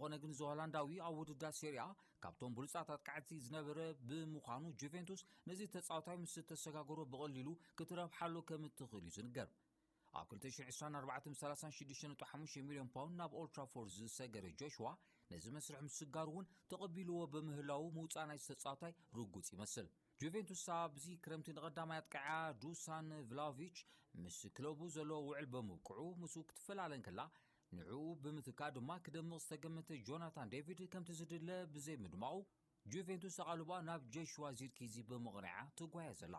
እንተኾነ ግን እዚ ሆላንዳዊ ኣብ ውድድር ሴሪኣ ካብቶም ብሉጻት ኣጥቃዕቲ ዝነበረ ብምዃኑ፣ ጁቬንቱስ ነዚ ተጻዋታይ ምስ ተሰጋገሮ ብቐሊሉ ክትረብሓሉ ከም እትኽእል እዩ ዝንገር። ኣብ ክልተ ሽሕን ዕስራን ኣርባዕተ ምስ ሰላሳን ሽዱሽተን ነጥቢ ሓሙሽተ ሚልዮን ፓውንድ ናብ ኦልትራፎርድ ዝሰገረ ጆሽዋ፣ ነዚ መስርሕ ምስጋር እውን ተቐቢልዎ ብምህላዉ፣ ምውጻእ ናይቲ ተጻዋታይ ርጉጽ ይመስል። ጁቬንቱስ ኣብዚ ክረምቲ ንቐዳማይ ኣጥቃዓ ዱሳን ቭላቪች ምስ ክለቡ ዘለዎ ውዕል ብምብቅዑ፣ ምስኡ ክትፈላለ እንከላ፣ ንዕኡ ብምትካ ድማ ክደምቕ ዝተገመተ ጆናታን ዴቪድ ከምቲ ዝድለ ብዘይምድማቑ፣ ጁቬንቱስ ኣቓልባ ናብ ጆሽዋ ዚርኪዚ ብምቕንዓ ትጓየ ዘላ።